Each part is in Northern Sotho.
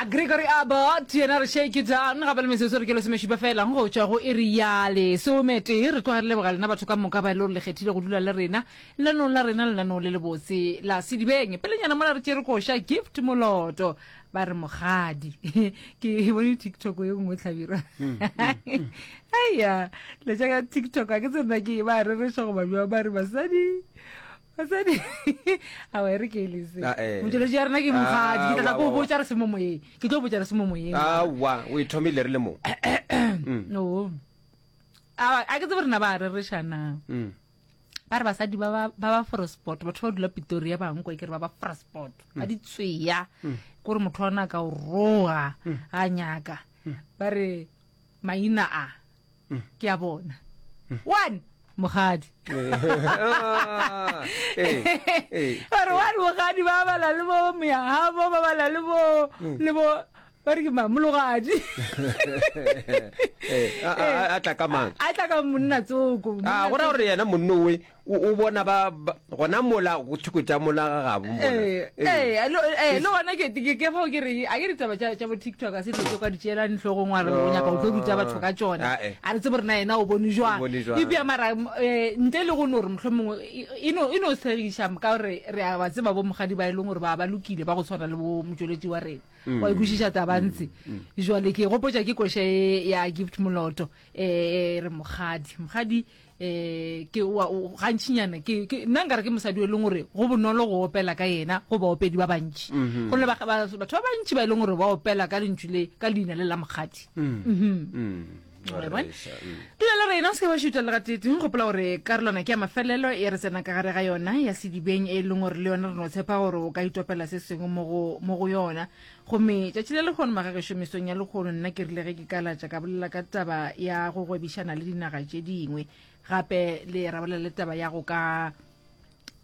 A Gregory Abbott yena re shake it down gape le metsotso re ke lesomešupa fela go tšwa go iri ya lesometee. Re tloga re leboga lena batho ka moka ba e le gore le kgethile go dula le rena lenaneong la rena, lenaneo le lebotse la Sedibeng. Pelenyana mola re tšere koša Gift Moloto ba re mogadi. Ke bone TikTok ye nngwe Hlabirwa. Aiya, letša ka TikTok a ke tsebe na ke ba rereša goba bjang ba re basadi Basadi awa e re ke elese Ah, eh. motšweletši ya rena ke mogadi ke tla tla ko Aowa, botša re se mo moyeng ke tlo botša re se mo moyeng aowa o e thomile re le mo no a a ke tsebe rena ba rereša na Mm. ba re basadi ba ba ba ba frosport batho ba dula Pretoria ba nkwa ke re ba ba frosport ba di tsweya gore motho wa ona a ka o roga ga nyaka ba re maina a ke a bona one mogadi ba re one mogadi ba bala le bo moyagabo ba bala le bo le bo ba re ke mang mologadi a tla ka mang a tla ka monna tsoko a go ra gore yena monnowe O, o bona ba, ba, gona mola, go thoko tša mola ga gabo mola. Ee, Ee. ee, le, ee, le gona ke, ke, ke fao ke re, a ke ditaba tša, tša bo TikTok a se dilo tše o ka di tšeelang hlogong wa re o nyaka o tlo ruta batho ka tšona. Ah, eh. A re tsebe gore na yena o bone jwang. O bone jwang. Eupša mara, eh, ntle le go no re mohlomongwe, e, e no, e no segiša ka gore re a ba tseba bo mogadi ba e leng gore ba, ba lokile ba go tshwana le bo motšweletši wa rena. Wa e kwešiša taba ntse. Jwale ke gopotša ke koša e ya Gift Moloto, eh, e re mogadi. Mogadi um ke wa gantšinyana ke ke nna nkare ke mosadi o e leng gore go bonolo go opela ka yena go baopedi ba bantši mm-hmm. gonne batho ba bantši ba e leng gore ba opela ka lentšu le ka leina le la mokgadi mm. mm-hmm. mm. dula le rena o se ke ba šuta le gatete gopola gore karolwana ke ya mafelelo e re tsena ka gare ga yona ya sedibeng e leng gore le yona re no tshepa gore o ka itopela se sengwe mo go yona Gomme tšatši la lehono, magagešo, mesong ya lehono, nna ke rile ge ke kalatša ka bolela ka taba ya go gwebišana le dinaga tše dingwe, gape le ra bolela le taba ya go ka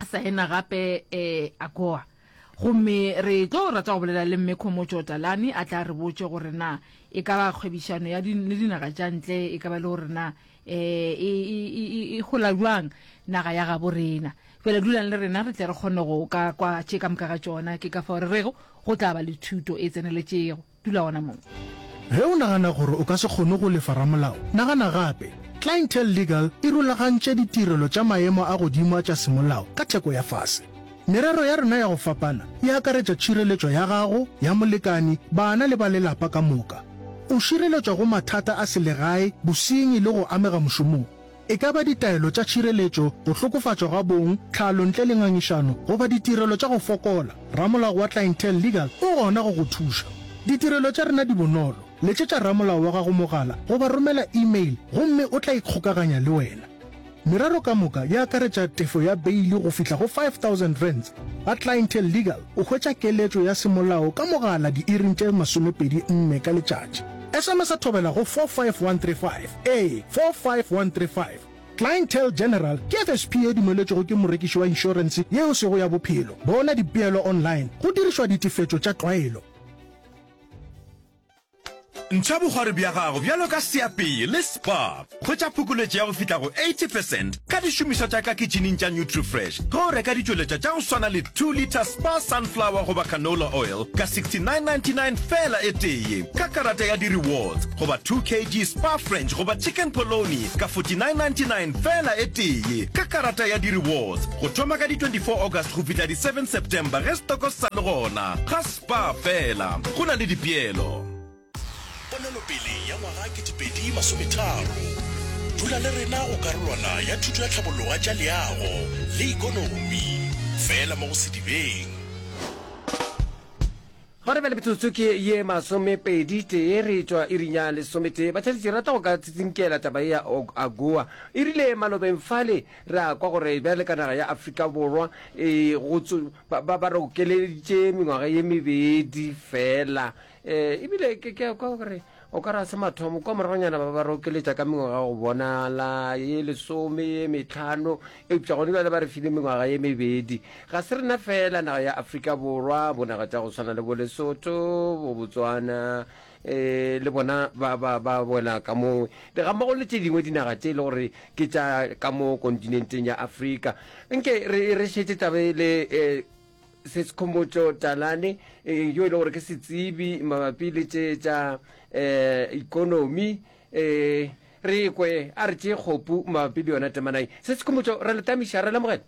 saena gape eh, AGOA. Gomme re tlo rata go bolela le Mme Khomotšo Talane a tla re botše gore na e ka ba kgwebišano ya di, le dinaga tša ntle e ka ba le gore na eh, e, e, e, e gola bjang naga ya gabo rena. Bjale dulang le rena re tle re kgone go ka kwa tše ka moka ga tšona. Ke ka fao re rego go tla ba le thuto e tseneletšego. Dula gona moo. Ge o nagana gore o ka se kgone go lefa ramolao, nagana gape. Clientele Legal e rulagantše ditirelo tša maemo a godimo a tša semolao ka theko ya fase. Merero ya rena ya go fapana e akaretša tšhireletšo ya gago, ya molekani, bana le ba lelapa ka moka. O šireletšwa go mathata a selegae, bosenyi le go amega mošomong. E ka ba ditaelo tša tšhireletšo, go hlokofatšwa ga bong, tlhalo ntle le ngangišano, goba ditirelo tša go fokola, ramolao wa Clientele Legal o gona go go thuša. Ditirelo tša rena di bonolo, letšetša ramolao wa gago mogala goba romela e-mail gomme o tla ikgokaganya le wena. Merero ka moka e akaretša tefo ya beili go fihla go R5000. Ga Clientele Legal o hwetša keletšo ya semolao ka mogala diiring tše 24 ka letšatši. SMS-a thobela go 45135. Ee, 45135. Clientele General ke FSP ye dumeletšwego ke morekiši wa inšorense ye e sego ya bophelo. Bona dipeelo online go dirišwa ditefetšo tša tlwaelo. Ntšha bokgwari bja gago bjalo ka seapei le Spar. Hwetša phokoletšo ya go fihla go 80 percent ka dišomišwa tša ka kitšhining tša Nutrifresh ge o reka ditšweletšwa tša go swana le 2 litre Spar Sunflower goba Canola Oil ka 69.99 feela e tee ka karata ya di-rewards goba 2 kg Spar French goba Chicken Polony ka 49.99 feela e tee ka karata ya di-rewards go thoma ka di 24 August go fihla di 7 September ge stoko se sa le gona ga Spar feela go na le dipeelo. Ponelopele ya ngwaga 2030. Dula le rena go karolwana ya thuto ya tlhabolloga tša leago le ikonomi, fela mo go Sedibeng. Gona bjale metsotso ke ye masomepedi tee re tšwa iring ya lesometee. Batheeletši, re rata go ka tsitsinkela taba ye ya AGOA. E rile malobeng fale ra kwa gore bjale ka naga ya Afrika Borwa e go ba, ba, ba re okeleditše mengwaga ye mebedi fela. E, ebile ke, ke a kwa gore o ka ra se mathomo kwa moragonyana ba ba re okeletša ka mengwaga go bonala ye lesome ye metlhano, eupša gone bjale ba re file mengwaga ye mebedi. Ga se rena fela naga ya Afrika Borwa, bonaga tša go swana le bo Lesotho, bo Botswana, e, le bona ba, ba, ba wela ka moo, gammogo le tše dingwe dinaga tše e le gore ke tša ka mo kontinenteng ya Afrika. Nke re, re šetše taba e le, e. Sesikhomotšo Talane eh, yo e le gore ke setsebi mabapi le tše tša eh, ikonomi eh, re kwe a re tšee kgopu mabapi le yona temana ye. Sesikhomotšo re le tamiša re lemogela.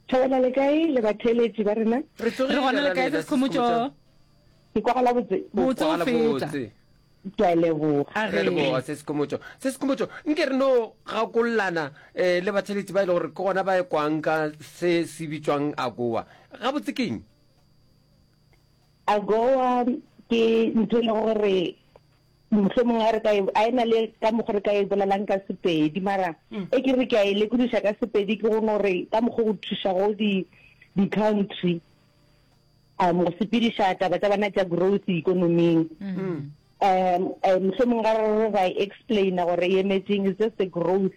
Thobela le kae le batheeletši ba rena? Re tsogile Re gona ra le kae lena Sesikhomotšo? Sesikhomotšo. Ke kwagala botse. O Botse o kwagala feta. botse. Ke a leboga. A Re a re. leboga Sesikhomotšo. Sesikhomotšo, nke re no gakollana eh, le batheeletši ba e le gore ke gona ba e kwang ka se se bitšwang AGOA. Gabotse ke eng? AGOA ke ntho e lego gore mohlomongwe a re ka e, a e na le ka mokgo re ka e bolelang ka Sepedi, mara e ke re ke a e lekodiša ka Sepedi ke go no re ka mokgo go thušago di di-country um go sepediša taba tša bona tša growth ikonoming. Um mohlomongwe ga re re ra e explaina gore e emetseng, is just the growth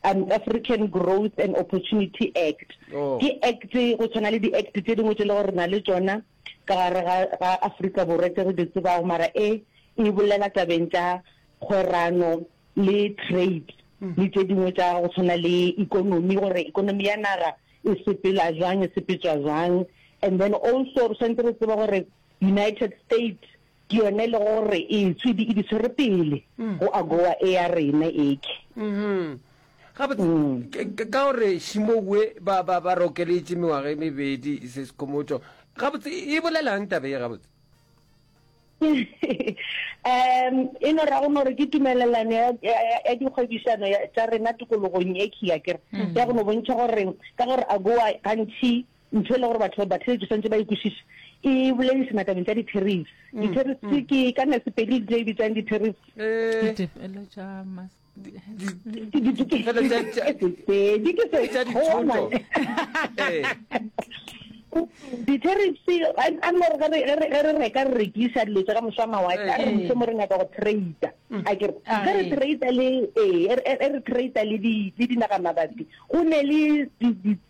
um African Growth and Opportunity Act. Oh. Ke act go tshwana le di-act tše dingwe tše le gore re na le tšona ka gare ga, ga Afrika Borwa tše re di tsebago, mara e e bolela tabeng tša kgwerano le trade le tše dingwe tša go tshwana le ikonomi, gore ikonomi ya naga e sepela jwang, e sepetšwa jwang. And then also re swanetše re tsebe gore United States ke yone e le gore e tshwedi e di tshwere pele go AGOA e ya rena eke. Gabotse, ka gore Šimowe ba, ba, ba rokeletše mengwaga e mebedi se sekhomotšo. Gabotse, e bolelang taba ye gabotse? Um e no ra go no re ke tumelelano ya, ya, ya dikgwebišano tša rena tikologong e khi, akere, ya go no bontšha gore ka gore AGOA gantši ntho e le gore batho batheletši swanetše ba e kwešiše e boledišana tabeng tša di-tariffs. Di-tariffs ke ka na Sepedi le tše e bitsang di-tariffs. Ditefelo tša mas Ditefelo tša Sepedi ke tša dithoto. Ee. Di-tariffs a no re ge re ge re reka re rekiša dilo tša ka mošwa mawatle a re mohlomong re nyaka go trade a ke re ge re trade le ee re trade le di le dinaga mabapi Go ne le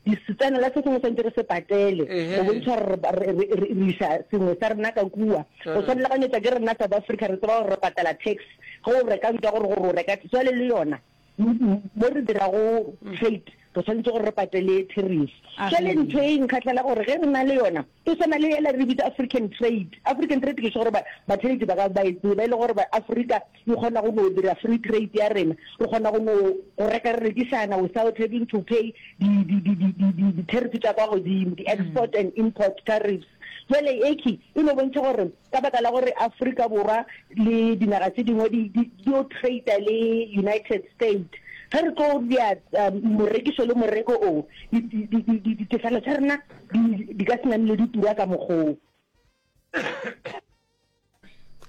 disetsana la se sengwe swantse re se patele go bontšha gore re iša sengwe sa rena ka kua. Go tshwanela ka nyetša ke rena South Africa re tseba gore re patela tax ge o reka ntwa gore gore o reka jwale le yona mo re dirago trade re tshwanetse gore re patele tariff. Jwale ntho e nkgahlela gore ge re na le yona E swana le yela re bitsa African trade. African trade ke sure gore batheletši ba ka ba e tseba, e le gore Afrika e kgona go no dira free trade ya rena. Re kgona go no go reka re rekišana without having to pay di di di di di di di-tariff tša kwa godimo, di-export and import tariffs. Jwale eki e no bontšha gore ka baka la gore Afrika Borwa le dinaga tše dingwe di di di yo trader le United States, ge re tlo dira morekišo le moreko o, di di di di ditefelo tša rena Di, di ka se namile di tura ka mokgoo.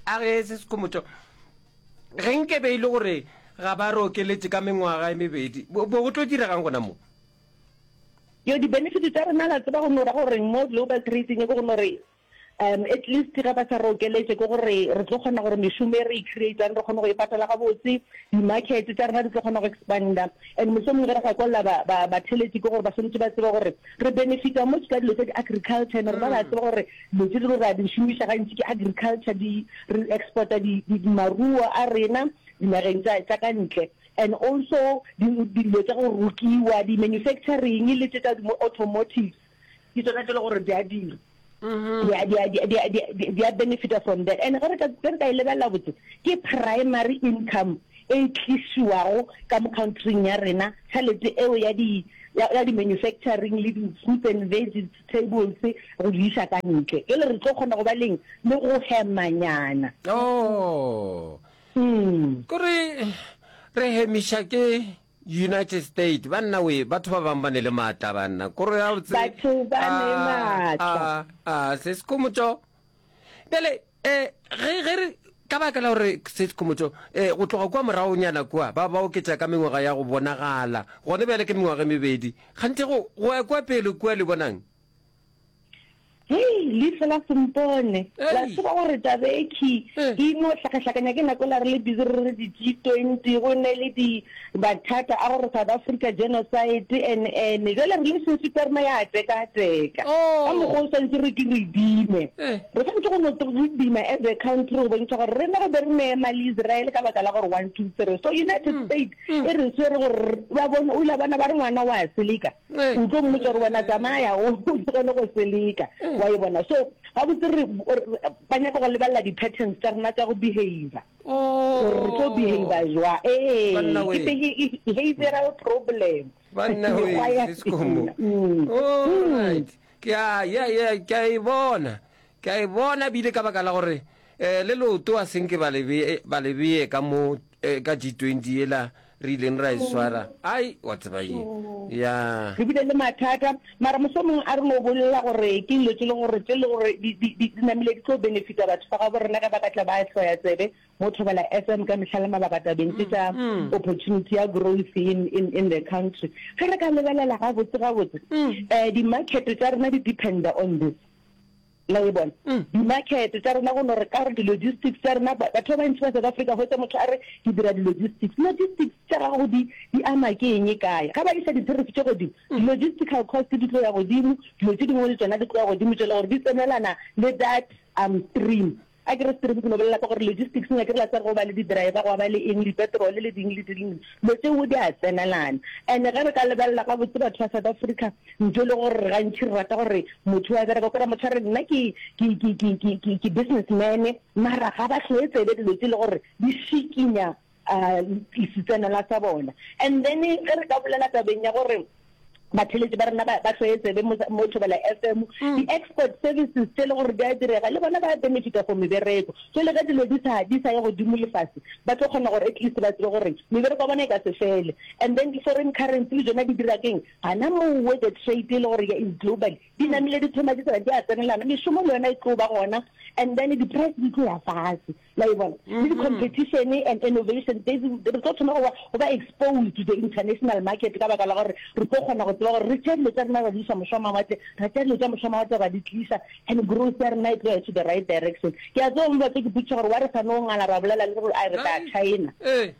A re se sekhomotšo, ge nke be e le gore ga ba re okeletše ka mengwaga e mebedi, bo, bo go tlo diregang gona mo? Yo, di-benefit tša rena la tseba go no ra gore mo global trading ke go no re Um at least ge ba sa re okeletše ke gore re tlo kgona gore mešomo e re e creatang re kgone go e patala gabotse, di-market tša rena di tlo kgona go expanda. And mohlomongwe ge re gakolla ba, ba, batheeletši ke gore ba swanetše ba tsebe gore re benefita much ka dilo tša di-agriculture and rena re a tseba gore dilo tše dingwe re a di šomiša gantši ke agriculture, di, re exporta di, di, maruo a rena dinageng tša, tša ka ntle. And also di, dilo tša go rokiwa, di-manufacturing le tše tša di-automotives. Ke tsona tše le gore di a dira. Di a, di a, di a, di a, di a, di a benefita from that. And ge re ka, ge re ka e lebelela botse, ke primary income e tlišiwago ka mo country-ing ya rena, tšhelete eo ya di, ya, ya di-manufacturing le di-fruits and vegetables go di iša ka ntle. Jwale re tlo kgona go ba leng le go hemanyana. Oh. Kore re hemiša ke United State banna we batho ba bang ba ne le maatla banna koro ya botse Batho ba ne maatla. a a se sekhomotšo bjale eh ge ge re ka baka la gore se sekhomotšo eh go tloga kua moragonyana kua ba ba oketša ka mengwaga ya go bonagala gone bjale ke mengwaga e mebedi kganthe go go ya kua pele kua le bonang? Hei, leihlo la sempone. La tseba gore taba e khi e no hlakahlakanya ke nako la re le busy re re di G20 go ne le di mathata a gore South Africa genocide and and jwale relationship ya rena ya teka teka. Ka mokgwa o swanetše re ke re dime. Re swanetše go no re dima as a country go bontšha gore rena re be re ne ema le Israel ka baka la gore 1 2 3. So United States e re swere gore ba bone o ile bona ba re ngwana wa seleka. O tlo mmotša gore wena tsamaya o tlogele go seleka, wa e bona. So gabotse re ba nyaka go lebelela di-patterns tša rena tša go behavior, gore re tlo behavior jwa. Ee, ke behavioral problem. Banna we, Seskomo. Alright. Ke a ya ya ke a e bona. Ke a e bona bile ka baka la gore eh le leoto a senke ba le bee ba le bee ka mo eh, ka G20 yela re ileng ra e swara. Ai wa tseba eng? Ya. Re bile le mathata, mara mohlomongwe a re no bolela gore ke dilo tše le gore tše le gore di di di namile di tlo benefita batho ba gabo rena ge ba ka tla ba hloya tsebe mo Thobela FM ka mehla le mabaka tabeng tše tša opportunity ya growth in in in the country. Ge re ka lebelela gabotse gabotse, eh di-market tša rena di dependa on this. La e bona? Di-market tša rena go no re ka gore di-logistics tša rena, batho ba bantši ba South Africa hwetša motho a re ke dira di-logistics. Logistics tša gago di di ama ke eng kae? Ga ba iša di-tariff tše godimo, di-logistical cost di tlo ya godimo, dilo tše dingwe le tšona di tlo ya godimo tše le gore di tsenelana le that um stream. A ke re stream ke no bolela ka gore logistics a ke re la tseba go ba le di-driver, gwa ba le eng, dipetrole le ding le ding, dilo tšeo di a tsenelana. And ge re ka lebelela gabotse batho ba South Africa, ntho e le gore re gantši re rata gore motho wa bereka, o kry-a motho a re nna ke, ke, ke, ke, ke, ke, ke businessman, mara ga ba hloe tsebe dilo tše e le gore di šikinya setsenelwa sa bona. And then ge re ka bolela tabeng ya gore batheletši ba rena ba hloye tsebe mo Thobela FM, di-export services tše le gore di a direga, le bona ba benefita for mebereko. So le ge dilo di sa di sa ye godimo le fase, ba tlo kgona gore at least ba tsebe gore mebereko ya bona e ka se fele. And then di-foreign currency le tšona di dira keng? Gana mowe the trade e le gore is global, di namile di thoma di tsena di a tsenelana, mešomo le yona e tlo ba gona, and then di-price di tlo ya fase. La e bona? Le di-competition and innovation, re tlo thoma go ba, go ba exposed to the international market ka baka la gore re tlo kgona go tseba gore re tšea dilo tša rena ra di iša mošwamawatle, ra tšea dilo tša mošwamawatle ra di tliša, and growth ya rena e tlo ya to the right direction. Ke a tseba mo ba tlo ke potšiša gore why re sa no ngala ra bolela le gore a re tla China. Eh,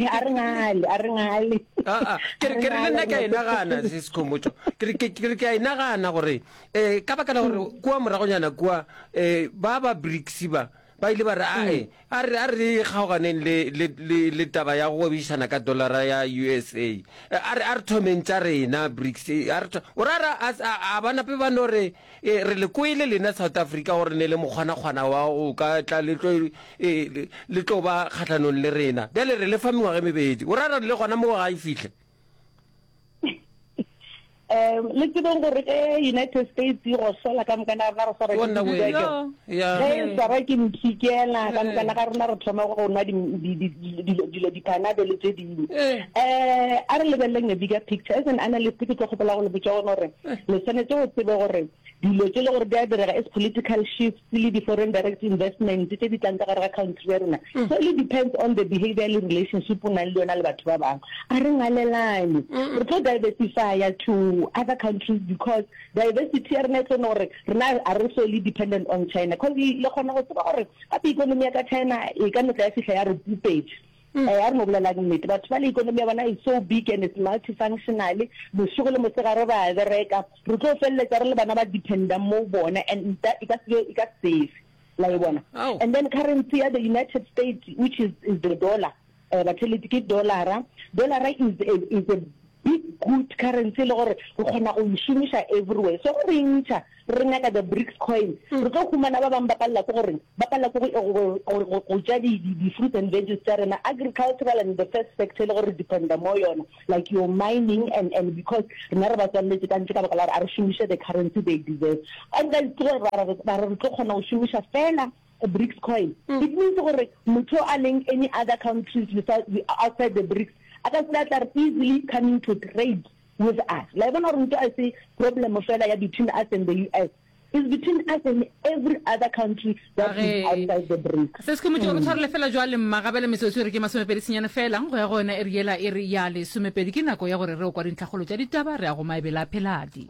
a re ngale, a re ngale. Aa, ke re, ke re le nna ke a e nagana, Sis Khomotšo. Ke re, ke, ke re ke a e nagana gore, eh, ka baka la gore kua moragonyana kua, eh, ba ba BRICS ba, ba ile ba re, Ae, a re, a re kgaoganeng le, le, le, le taba ya go gwebišana ka dollara ya USA. A re, a re thomeng tša rena, BRICS. A re tho-, o ra re a, a, a ba nape ba no re, e, re le kwele lena South Africa gore ne le mokgwanakgwana wa go ka tla le tlo, e, le, le tlo ba kgahlanong le rena. Bjale re le fa mengwaga e mebedi. O ra re le gona moo ga e fihle? Um le tsebeng gore ge United States e gohlola ka moka na rena re swara ke dibeke. Ge e swara ke mphikela ka moka ga rena re thoma go nwa dilo di-panado le tše dingwe. Um a re lebeleleng a bigger picture. As an analyst ke tlo kgopela go le botša gona gore le swanetše go tsebe gore dilo tše le gore di a direga as political shifts le di-foreign direct investment tše di tlang ka gare ga country ya rena. So it depends on the behavior le relationship o nang le yona le batho ba bangwe. A re ngalelane. Re tlo diversifya to other countries because diversity ya rena e tlo no gore rena a re solely dependent on China. Cause le kgona go tseba gore gape economy ya ka China e ka no tla ya fihla ya re pupetša. Eh, a re no bolelang nnete. Batho ba le economy ya bona is so big and it's multifunctional. Bošego le mosegare ba a bereka. Re tlo feleletša re le bana ba dependang mo bona and e ka se be, e ka se safe. La e bona? And then currency ya the United States which is, is the dollar. Eh, batheletši ke dollara. Dollara is a, is a big good currency e le gore re kgona go e šomiša everywhere. So ge re e ntšha re nyaka the BRICS coin, re tlo humana ba bangwe ba palela ke gore ba palela ke go, go, go, go ja di, di, di fruits and veggies tša rena, agricultural and the first sector e le gore re dependa mo yona, like your mining and, and because rena re ba tswalletše ka ntle ka baka la gore a re šomiše the currency they deserve. And then ke gore ba re, ba re re tlo kgona go šomiša fela BRICS coin. It means gore motho a leng any other countries without, outside the BRICS a ka se tla re easily coming to trade with us. La e bona gore ntho a se problem fela ya between us and the US. It's between us and every other country that is outside the BRICS. Se se khomotšego re tshwarele fela jwale mma gabele metsotso e re ke masomepedi senyane fela go ya go yona e re yela e re ya lesomepedi ke nako ya gore re o kwa dintlhakgolo tša ditaba re ya go maebela a pheladi.